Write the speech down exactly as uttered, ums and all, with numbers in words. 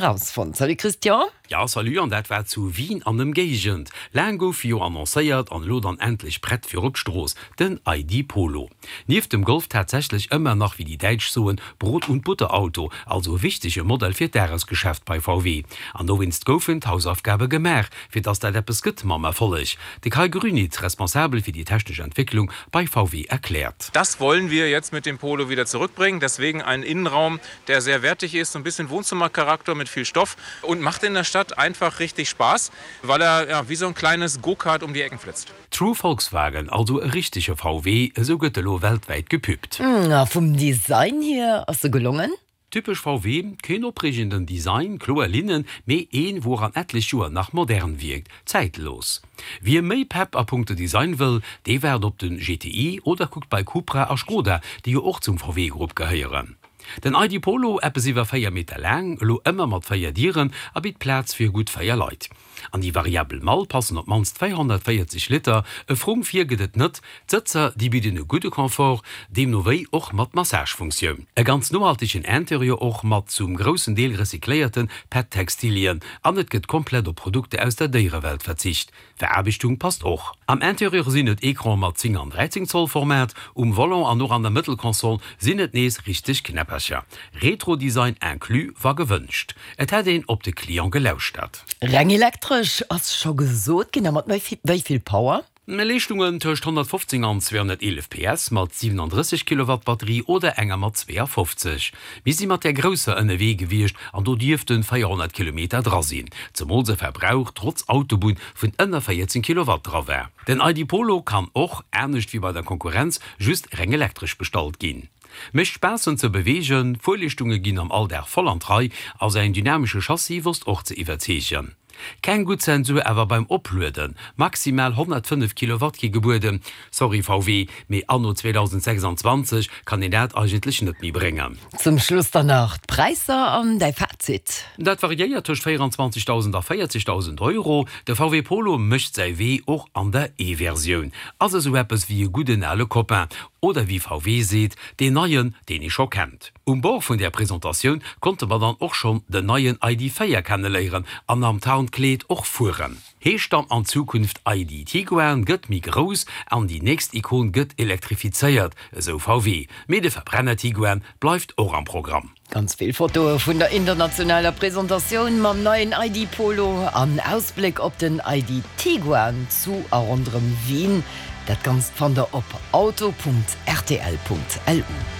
Rausfonnt. Salut Christian. Ja salut an dat war zu Wien an Ëmgéigend. Laang gouf jo annoncéiert an elo dann endlech prett fir op d'Strooss, den I D Polo. Nieft dem Golf tatsächlech ëmmer nach, wéi déi Däitsch soen, Brot und Butterauto, also e wichtege Modell fir d'Dagesgeschäft bei V W. An dowéinst goufen d'Hausaufgabe gemaach, fir dass dat eppes gëtt mam Erfolleg. De Kai Grünitz, responsabel fir déi technesch Entwécklung bei V W, erkläert. Das wollen wir jetzt mit dem Polo wieder zurückbringen. Deswegen einen Innenraum, der sehr wertig ist, so ein bisschen Wohnzimmercharakter mit viel Stoff und macht in der Stadt einfach richtig Spaß, weil er ja, wie so ein kleines Go-Kart um die Ecken flitzt. True Volkswagen, also e richtege V W, esou gëtt elo weltwäit gepüppt. Na, vum Design hier ass se gelongen? Typesch V W, keen opreegenden Design, kloer Linnen, mee een, wou an etlech Joer nach modern wierkt, zäitlos. Wie méi Pepp a punkto Design wëll, dee waart op den G T I oder kuckt bei Cupra a Skoda, déi jo och zum V W-Grupp gehéieren. Den I D Polo, eppes iwwer véier Meter laang, elo ëmmer mat véier Dieren a bitt Plaz fir gutt véier Leit. An déi variabel Mall passen op d'mannst véierhonnertvéierzeg Liter, e Frung vir gëtt et net, d'Sëtzer déi bidden e gudde Confort, deemno wéi och mat Massagefunktioun. E ganz nohaltegen Interieur och mat zum groussen Deel recycléierte P E T-Textilien an et gëtt komplett op Produkter aus der Déierewelt verzicht. Veraarbechtung passt och. Am Interieur sinn et Ecrane mat zéng an dräizéng Zoll Format, um Volant an och an der Mëttelkonsol sinn et nees richteg Knäppercher. Retro-Design inclus wa gewënscht. Et hätt een op de Client gelauschtert. Reng elektresch ass scho gesot ginn, a mat wéi vill Power? Leeschtungen tëscht honnertfofzéng an zweehonnerteelef P S mat siwenandrësseg Kilowatt Batterie oder enger mat zweeafofzeg. Mir si mat där grousser ënnerwee gewiescht an do dierften véierhonnert Kilometer dra sinn, zemools e Verbrauch trotz Autobunn vun ënner véierzéng Kilowatt dra war. Den I D Polo kann och, anescht wéi bei der Konkurrenz, just reng elektresch bestallt ginn. Mécht Spaass en ze beweegen, Fuerleeschtunge ginn am Alldag voll an d'Rei a säin dynamesche Chassis wosst och ze iwwerzeegen. Keng gutt Zensur awer beim Oplueden, maximal honnertfënnef Kilowatt gi gebueden, sorry V W, mee anno zweedausendsechsanzwanzeg kann een dat eigentlech net méi bréngen. Zum Schluss dann nach d'Präisser an däi Fazit. Dat variéiert tëscht véieranzwanzegdausend a véierzegdausend Euro. De V W Polo mécht säi Wee och an der E-Versioun. Ass esou eppes wéi e gudden ale Copain, oder wéi V W seet, deen neien, deen ee scho kennt. Um Bord vun där Presentatioun konnte mer dann och schonn den neien I D véier kenneléieren an am Tarnkleed och fueren. Heescht dann an Zukunft I D Tiguan, gëtt méi grouss an déi nächst Ikon gëtt elektrifizéiert, esou V W. Mee de Verbrenner Tiguan bleift och am Programm. Ganz vill Fotoe vun der internationaler Presentatioun mam neien I D Polo an Ausbléck op den I D Tiguan zu a ronderëm Wien. Dat Ganzt fannt der op auto Punkt R T L Punkt L U.